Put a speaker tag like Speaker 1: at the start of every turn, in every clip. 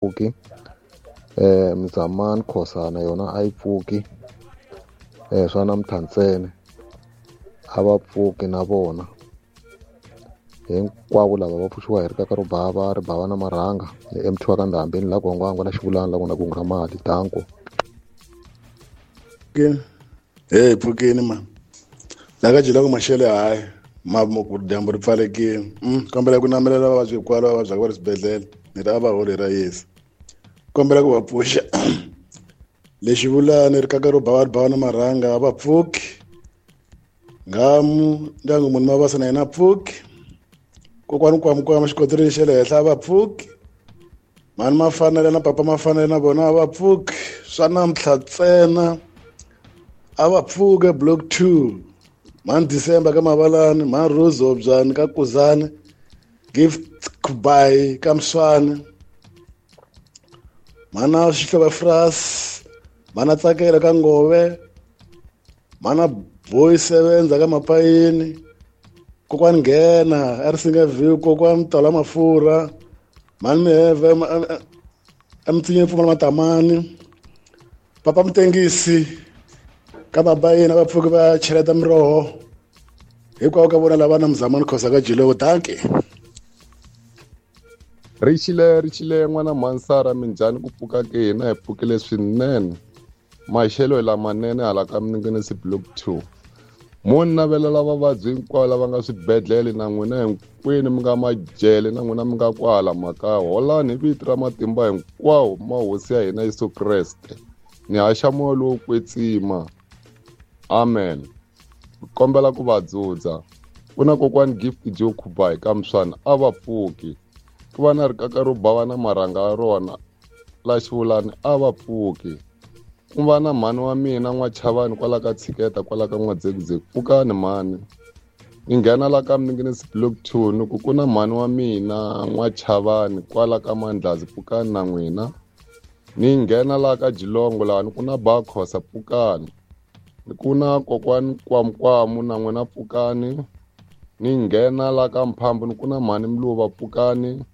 Speaker 1: Pfuki. Mzamani Khosa na yona a yi pfuki. Swa namuntlha ntsena a va pfuki na vona. Hinkwavo lava va pfuxiwa hi rikaka ro bava ri bava na marhanga ni MT wa ka Ndhambi ni la Gongwangwa la Xivulani la ku na kungu ra mali. Danko.
Speaker 2: Hey, pfukeni mani. La ka Jiloko maxelo hayi ma ku dyambu ri pfalekile. Kombela ku namelela vavabyi hinkwavo lava vabyaka va ri swibedhlele ni ri a va holi ra Yesu. Kombela ku va pfuxa. Lexi vulani rikaka ro bava ri bava na marhanga a va pfuki. Nghamu ndyangu munhu mavasa na yena a pfuki. Kokwani Kwamkwama xikoteleni xa le henhla a va pfuki. Mhani Mafanele na papa Mafanele na vona a va pfuki. Swa namuntlha ntsena a va pfuke block 2. Mhani December ka Mavalani, mhani Rose Hobyani ka Kuzani, Gift Kubai ka Mswane, mhana Xihlovo Fras, mhana Tsakela ka Ngove, mhana Boy Sevenza ka Mapayini, kokwani Nghena a ri Singa View, kokwani Tola Mafurha, mhani Miheve emtsinyeni Pfumala Matamani, papa Mutengisi ka Mabayini a va pfuki va cheleta miroho. Hikwalaho ka vona lava na Mzamani Khosa ka Jiloko. Dankie.
Speaker 3: Ri xile n'wana Mhansara, minjhani ku pfuka ke? Hina hi pfukile swinene. Maxelo hi lamanene hala ka Minengenesi block 2. Mo ni navelela vavabyi hinkwavo lava nga swibedhlele na n'wina hinkwenu mi nga majele na n'wina mi nga kwala makaya. Holani hi vito ra matimba hinkwawo ma hosi ya hina Yesu Kreste. Ni haxa moya lowo kwetsima. Amen. Kombela ku va dzudza. Ku na kokwani Gift Joe Khubai ka Mswana a va pfuki. Ku va na rikaka ro bava na marhanga ya rona la Xivulani a va pfuki. Ku va na mhani wa mina N'wachavani kwala ka Tshiketa kwala ka N'wadzekudzeku. Pfukani mhani. Ni nghena la ka Minengenesi block 2 ni ku ku na mhani wa mina N'wachavani kwala ka Mandlazi. Pfukani na n'wina. Ni nghena la ka Jilongo laha ni ku na Bakhosa. Pfukani. Ni ku na kokwani Kwamkwamu na n'wina. Pfukani. Ni nghena la ka Mphambu ni ku na mhani Mluva. Pfukani.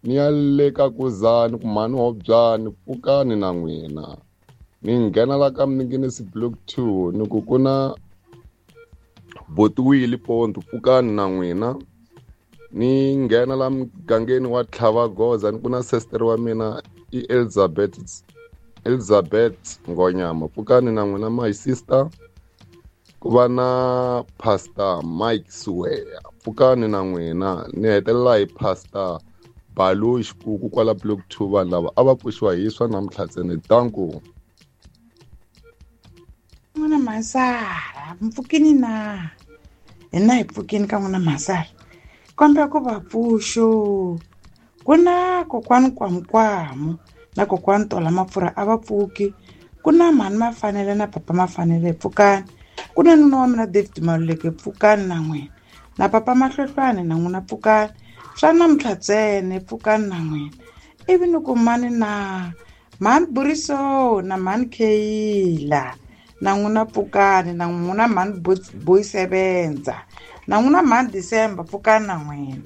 Speaker 3: Ni ya le ka Kuzani ku mhani Hobyani. Pfukani na n'wina. Ni nghena la ka Minengenesi block 2 ni ku ku na Botiwile Ponto. Pfukani na n'wina. Ni nghena la mugangeni wa Tlhavagoza ni ku na sister wa mina i Elizabeth Ngonyama. Pfukani na n'wina my sister. Ku va na Pastor Mike Suweya. Pfukani na n'wina. Ni hetelela hi Pastor Balu Xikuku kwala block 2. Vanhu lava a va pfuxiwa hi swa namuntlha ntsena. Danko.
Speaker 4: N'wana Mhansara, mpfukini na hina hi pfukini ka n'wana Mhansara. Kombela ku va pfuxo. Ku na kokwani Kwamkwamu na kokwani Tola Mafurha a va pfuki. Ku na mhani Mafanele na papa Mafanele. Pfukani. Ku na nuna wa mina David Maluleke. Pfukani na n'wina. Na papa Mahlohlwane na n'wina. Pfukani. Swa namuntlha ntsena. Pfukani na n'wina. Ivi ni ku mani na mhani Buriso na mhani Kheyila na n'wina. Pfukani na n'wina. Mhani Boy Sevenza na n'wina. Mhani December. Pfukani na n'wina.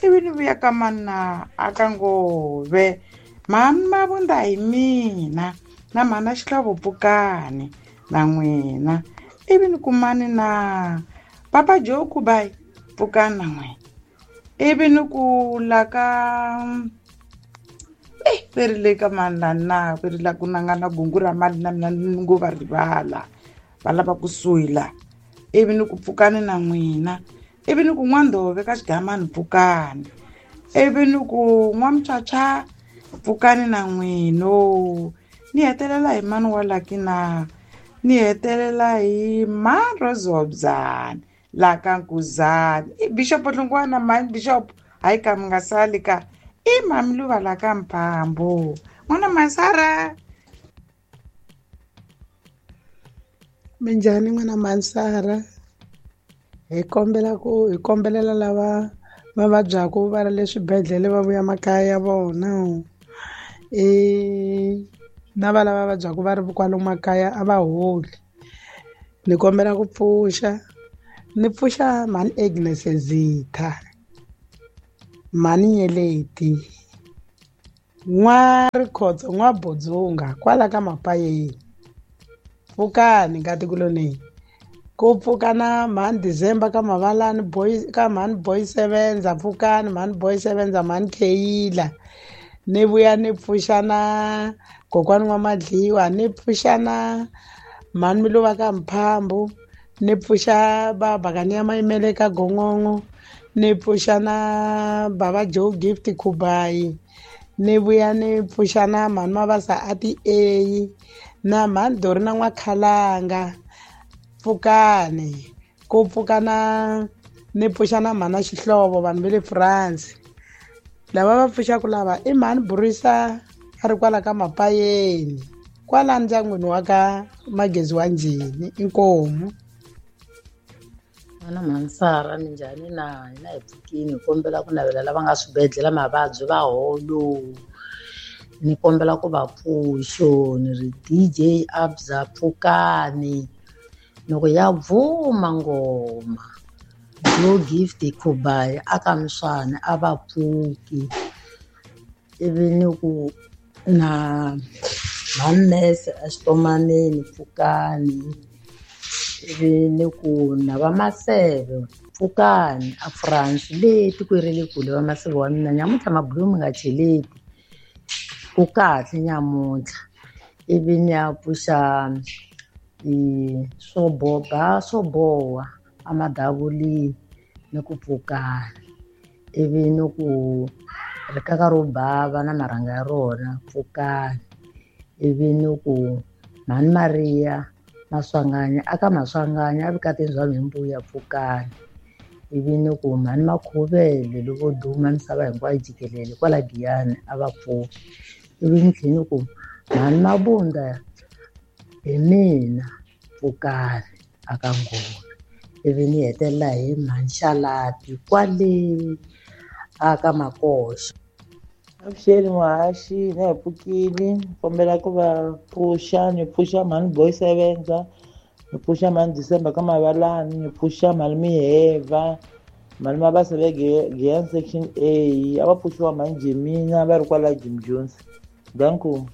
Speaker 4: Ivi ni vuya ka mani na aka Ngove. Mhani Mavunda hi mina na mhani Xihlovo. Pfukani na n'wina. Ivi ni ku mani na papa Joe Kubai. Pfukani na n'wina. Ivi ni ku la ka ve ri le ka mani la na ve ri la ku na nga na gungu ra mali na mina ni ngo va rivala va lava kusuhi la. Ivi ni ku pfukani na n'wina. Ivi ni ku N'wandhove ka Xigamani. Pfukani. Ivi ni ku N'wamuchacha. Pfukani na n'wino. Ni hetelela hi mani wa laki na ni hetelela hi mani Rozobyani la ka Nkuzani. I Bishop Hlungwana mani Bishop hayi ka mi nga sali ka i mami Luva la ka Mphambo. N'wana Mhansara.
Speaker 5: Minjhani n'wana Mhansara? Hi kombela ku hi kombelela lava va vabyaku va ri le swibedhlele va vuya makaya ya vona. Na va lava vabyaku va ri kwalomu makaya a va holi. Ni kombela ku pfuxa. Ni pfuxa mhani Agnes Zitha, mhani Nyeleti, N'wa Rikhotso n'wa Budzunga kwala ka Mapayeni. Pfukani nkatikuloni. Ku pfuka na mhani December ka Mavalani boy ka mhani boy sevenza pfukani mhani boy sevenza mhani Kheyila. Ni vuya ni pfuxa na kokwani n'wa Madliwa, ni pfuxa na mhani Miluva ka Mphambu, ni pfuxa babakani ya Mayimele ka Gongongo, ni pfuxa na baba Joe Gift Khubayi, ni vuya ni pfuxa na mhani Mabasa a ti A na mhani Dori na N'wakhalanga. Pfukani ku pfuka na ni pfuxa na mhana Xihlovo vanhu va le France. Lava va pfuxaku lava i mhani Burisa a ri kwala ka Mapayeni kwala ndyangwini wa ka Magezi wa Njhini. Inkomu.
Speaker 6: N'wana Mhansara, minjhani na hina hi pfukini, hi kombela ku navela lava nga swibedhlele mavabyi va holo. Ni kombela ku va pfuxo, ni ri DJ Abza pfukani. Loko ya bvuma ngoma Joe Gift Khubayi aka Mswana a va pfuki. Ivi ni ku na mhani a xitomaneni pfukani. Ivi ni ku na va Maseve pfukani a France le tikweni ra le kule va Maseve wa mina nyamuntlha mabulomu mi nga cheleti ku kahle nyamuntlha. Ivi ni ya pfuxa swo boba swo boha a madavulini ni ku pfukani. Ivi ni ku rikaka ro bava na marhanga ya rona pfukani. Ivi ni ku mhani Maria Maswanganyi aka Maswanganyi a vukatini bya Mhimbuya pfukani. Ivi ni ku mhani Makhuvele loko duma misava hinkwayo jikelele kwala Giyani a va pfuki. Ivi ni tlhela ni ku mhani Mabunda hi mina pfukani aka Nghozi. Ivi ni hetelela hi mhani Xalati kwale aka Makoxa.
Speaker 7: Avuxeni muhaxi, na hi pfukile, kombela ku va pfuxa, ni pfuxa mhani Boy Sevenza, ni pfuxa mhani December ka Mavalani, ni pfuxa mhani Miheva, mhani Mabasa va Giyani section A, a va pfuxiwa mhani Jemina va ri kwala Jim Jones. Danko.